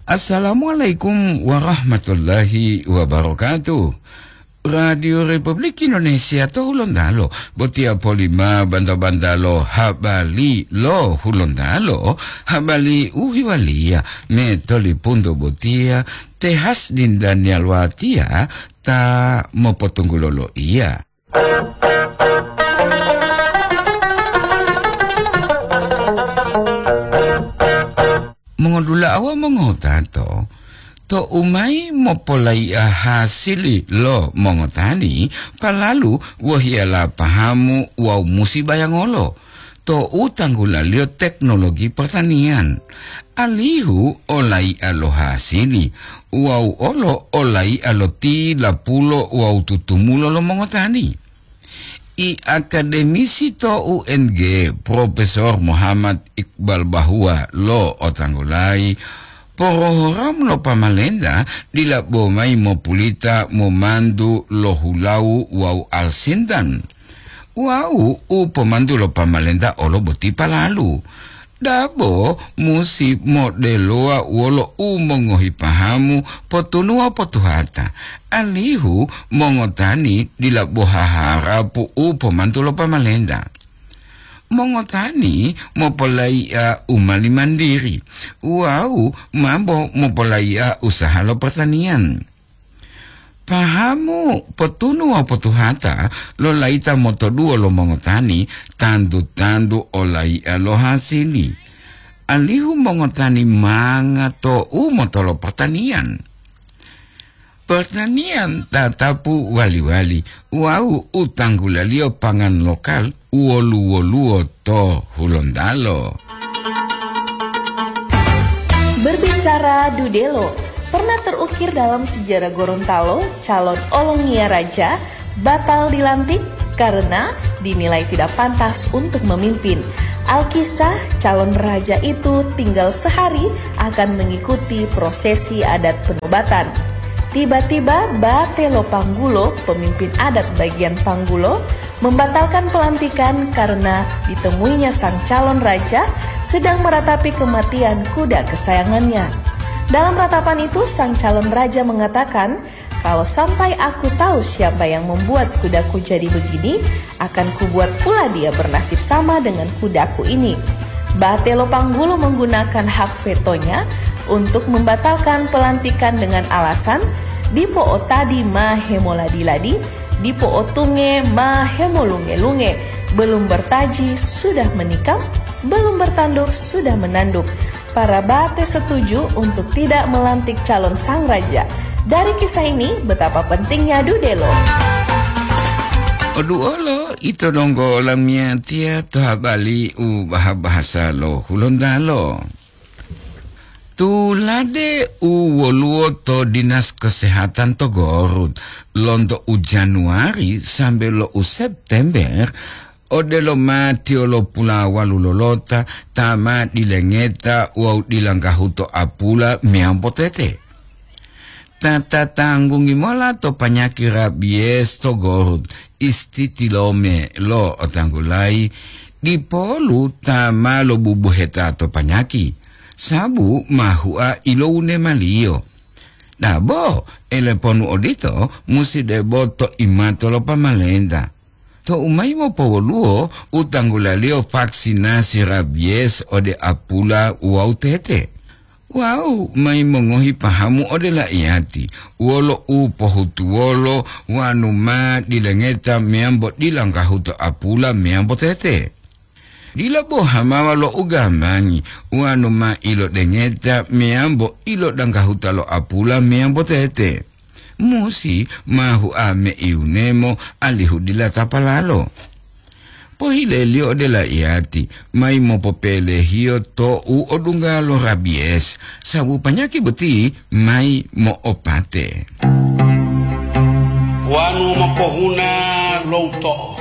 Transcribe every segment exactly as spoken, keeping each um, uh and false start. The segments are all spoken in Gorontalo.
Assalamualaikum warahmatullahi wabarakatuh. Radio Republik Indonesia to Hulontalo, botiya polima banta-bantalo habari lo Hulontalo, habari u hiwaliya me tolipunto botiya, Tehas Dindanial Watiya ta mopotunggulo loiya. Mongodula'a wawu mongotato, tou mayi mopolai'a hasili lo mongotani, palalu wohiyala pahamu wawu musi bayangolo tou tanggulaliyo teknologi pertanian, alihu olai'a lo hasili wawu olo olai'a lo tilapulo wawu tutumulo lo mongotani. I akademisi to U N G, Profesor Muhammad Iqbal Bahwa lo'otanggulayi, porohoram lo pamalenta dila bo mayi mopulita momantu lo hulawu wawu alsintan. Wawu u pomantu lo pamalenta olo boti palalu. Dabo musi modelowa wolo u mongohi pahamu, potunuwa potuhata, alihu mongotani dila bo haharapu u pomantu lo pamalenta. Mongotani mopolai'a u mali mandiri wawu mambo mopolai'a usaha lo pertanian. Pahamu, potunu wawu potuhata lo layita motoduwo lo mongotani tantu-tantu olai'a lo hasili, alihu mongotani manga to u motolo pertanian. Pertanian tatapu wali-wali wawu u tanggulaliyo pangan lokal wolu-woluwo to Hulontalo. Berbicara dudelo, pernah terukir dalam sejarah Gorontalo, calon olongiya raja batal dilantik karena dinilai tidak pantas untuk memimpin. Alkisah, calon raja itu tinggal sehari akan mengikuti prosesi adat penobatan. Tiba-tiba, Bate Lopanggulo, pemimpin adat bagian Panggulo, membatalkan pelantikan karena ditemuinya sang calon raja sedang meratapi kematian kuda kesayangannya. Dalam ratapan itu, sang calon raja mengatakan, "Kalau sampai aku tahu siapa yang membuat kudaku jadi begini, akan kubuat pula dia bernasib sama dengan kudaku ini." Batelo Panggulo menggunakan hak vetonya untuk membatalkan pelantikan dengan alasan, "Dipo otadi ma hemoladi-ladi, dipo otunge ma hemolunge-lunge, belum bertaji sudah menikam, belum bertanduk sudah menanduk." Para Bate setuju untuk tidak melantik calon sang raja. Dari kisah ini, betapa pentingnya dudelo. Oduolo ito donggo lamiyatiya to habari u baha-bahasa lo Hulontalo. Tulade u woluwo to Dinas Kesehatan to Gorut, lonto u Januari sambe lo u September, odelo matiyo lo pulawalu lolota ta ma dilengeta wawu dilanggahuto apula meyambo tete. Ta tatanggungi mola to panyaki rabies to Gorut, istitilome lo otanggulayi, dipolu ta ma lobubuheta to panyaki, sabu ma hua ilowunemaliyo. Dabo, eleponu odito musi debo to imato lo pamalenta. Tou mayi mopowoluwo u tanggulaliyo vaksinasi rabies ode apula wawu tete. Wawu mayi mongohi pahamu ode laiyati, wolo u pohutuwolo wanu ma dilengeta meyambo dilanggahuto apula meyambo tete. Dila bo hamawa lo ugamangi wanu ma ilodengeta meyambo ilodanggahuta lo apula meyambo tete. Musi ma hua meiunemo alihu dila tapalalo. Pohileliyo ode laiyati, mayi mopopelehiyo to u odungga lo rabies, sabu panyaki boti mayi mo'opate. Wanu mopohuna lo uto'o,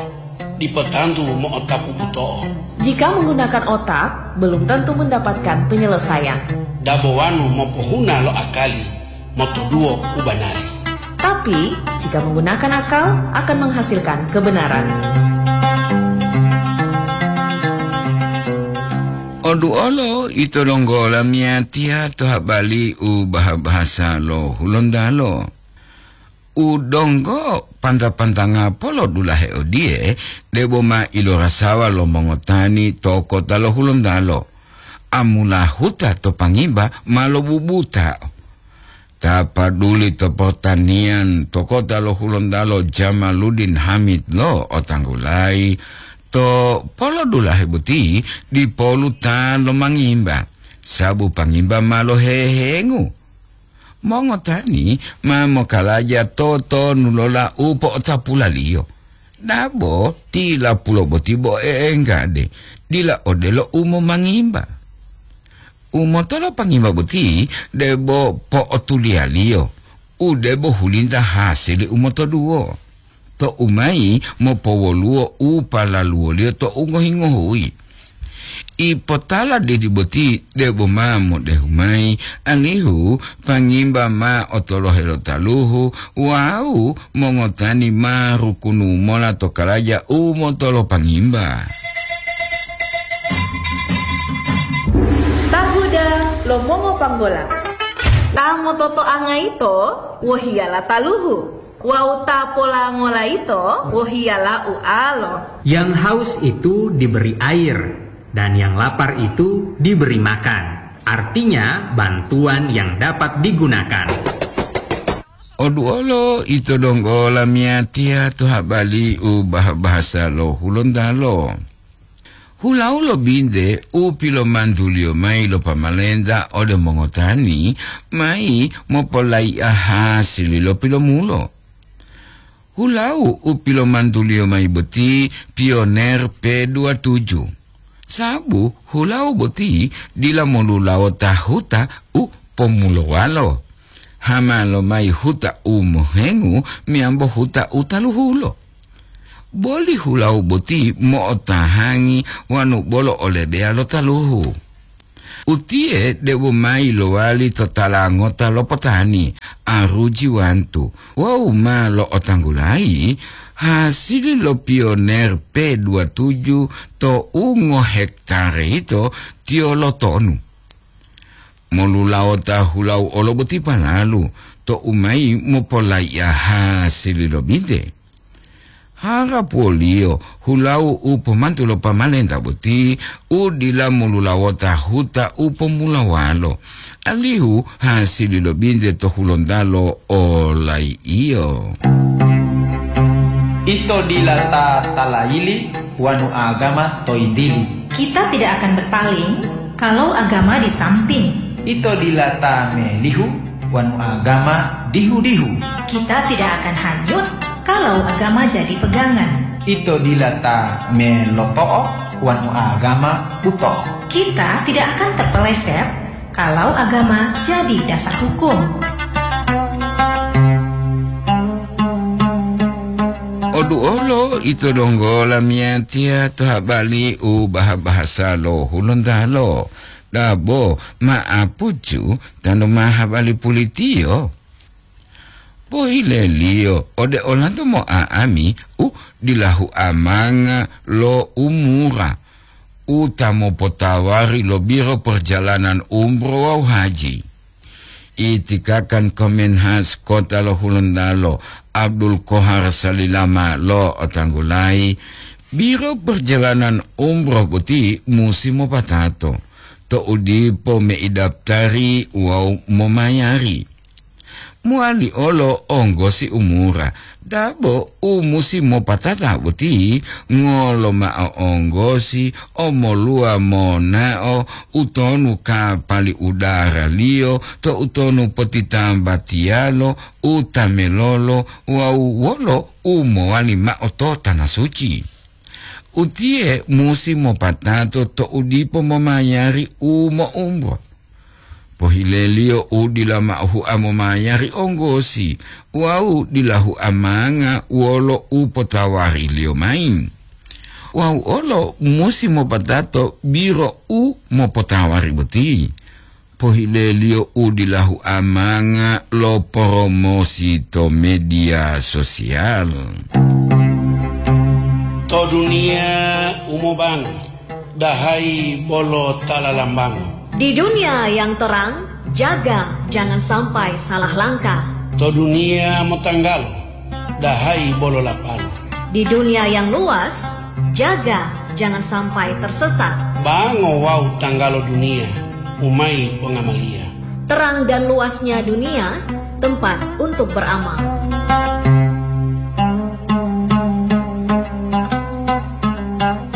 dipo tantu mo'otapu buto'o. Jika menggunakan otak, belum tentu mendapatkan penyelesaian. Dabo wanu mopohuna lo akali, motoduwo u banari. Tapi, jika menggunakan akal, akan menghasilkan kebenaran. Oduolo ito donggo lamiyatiya to habali u baha-bahasa lo Hulontalo. U donggo panta-pantanga polodulahe odiye, debo ma ilorasawa lo mongotani to kota lo Hulontalo. Amula huta to Pangimba ma lobubuta. Ta paduli to pertanian to kota lo Hulontalo Jamaluddin Hamid lo otanggulayi, to polodulahe boti dipolu ta lomangimba, sabu Pangimba ma lohehengu. Mongotani ma mokalaja totonu lola u po'otapulaliyo. Dabo tilapulo boti bo e'enggade, dila odelo u momangimba. U motolo Pangimba boti debo po'otuliyaliyo, u debo hulinta hasili u motoduwo. To umayi mopowoluwo u palaluwoliyo to u ngohi-ngohuyi. Ipotala dedi boti debo ma modehu mayi, alihu Pangimba ma otolohe lo taluhu wawu mongotani ma rukunu mola to kalaja u motolo Pangimba. Tahuda lo mongopanggola. Ta mototoanga yito wohiyala taluhu, wawu ta polangola yito wohiyala ualo. Yang haus itu diberi air, dan yang lapar itu diberi makan. Artinya, bantuan yang dapat digunakan. Oduolo ito donggo lamiyatiya to habali u bah-, bahasa lo Hulontalo. Hulau lo binte u pilomantuliyo mayi lo pamalenta ode mongotani mayi mopolaiya hasili lo pilomulo. Hulau u pilomantuliyo mayi boti pioner P dua tujuh, sabu hulau boti dila molulawota huta u pomulowalo, hama lomayi huta u mohengu meyambo huta u taluhulo. Boli hulau boti mo'otahangi wanu bolo o lebeya lo taluhu. Utiye debo mayi lowali to tala ngota lo potani, aruji wantu, wawu ma lo'otanggulayi hasili lo pioner P dua tujuh to u ngohektare yito tiyo lotonu. Molulawota hulau olo boti palalu to u mayi mopolaiya hasili lo binte. Harapuwoliyo hulau u pomantu lo pamalenta boti u dila molulawota huta u pomulawalo, alihu hasili lo binte to Hulontalo olai'iyo. Ito dila ta talayili wanu agama to yintili. Kita tidak akan berpaling kalau agama di samping. Ito dila ta melihu wanu agama dihu-dihu. Kita tidak akan hanyut kalau agama jadi pegangan. Ito dila ta meloto'o wanu agama buto'o. Kita tidak akan terpeleset kalau agama jadi dasar hukum. Oduolo ito donggo lamiyatiya to habali u baha-bahasa lo Hulontalo. Dabo ma apucu tanu ma habali pulitiyo. Pohileliyo ode olanto mo'a'ami u dila huamanga lo umura u ta mopotawari lo Biro Perjalanan Umroh wawu Haji. Itikakan Kemenhas Kota lo Hulontalo, Abdul Kohar Salilama lo'otanggulayi, Biro Perjalanan Umroh boti musi mopatato, to'u dipo meidaptari wawu momayari. Mowali olo onggosi umura, dabo u musi mopatata boti ngolo mao onggosi omoluwa monao utonu kapali udaraliyo to utonu potitambatiyalo u tamelolo wawu wolo u mowali mao to Tana Suci. Utiye musi mopatato to'u dipo momayari u mo'umbo. Pohileliyo u dila mao hua momayari onggosi wawu dila huamanga wolo u potawariliyo mayi. Wawu olo musi mopatato biro u mopotawari boti. Pohileliyo u dila huamanga lo poromosi to media sosial. To duniya u mobango, Dahai bolo ta lalambango. Di dunia yang terang, jaga jangan sampai salah langkah. To dunia motanggalo, dahai bolo lapalo. Di dunia yang luas, jaga jangan sampai tersesat. Bango wawu tanggalo dunia, umai pongamaliya. Terang dan luasnya dunia, tempat untuk beramal.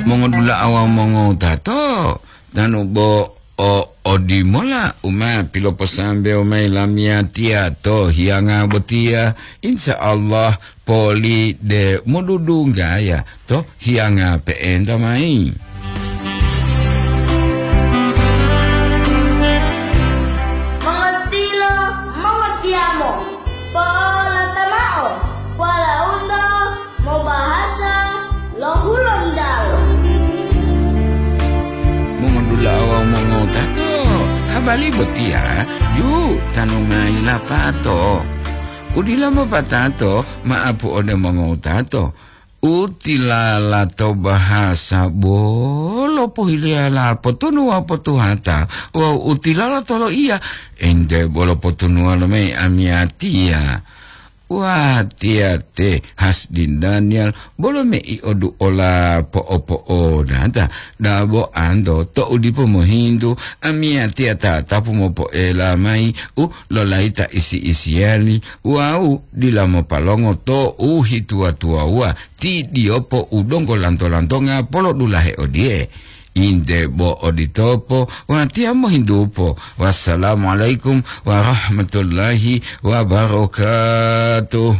Mongodula'a wawu mongowutato, tanu bo o odimola u ma piloposambewo mayi lamiyatiya to hiyanga botiya, insya Allah poli de modudunggaya to hiyanga pe'enta mayi. Mongotilo, mongotiyamo, polata mao, walaundo mobahasa lo Hulontalo. Mongondula'a wawu mongowutato, habari botiya ju tanu mayi lapato. Udila mopatato, ma'apu ode mongowutato. Utilala to bahasa bolo pohiliyala potunu wawu potuhata, wawu utilala to loiya, ente bolo potunuwa lomayi amiyatiya. Watiya te Hasdin Daniel, bolo mei oduola po'opo'odata, dabo anto to'u dipo mohintu, amiyatiya tatapu mopoela mayi u lolayita isi-isiyali wawu dila mopalongo to u hituwa-tuwawuwa, ti diyopo u donggo lanto-lantonga polodulahe odiye. Inde bo oditopo, watiya mohintupo. Wassalamualaikum warahmatullahi wabarakatuh.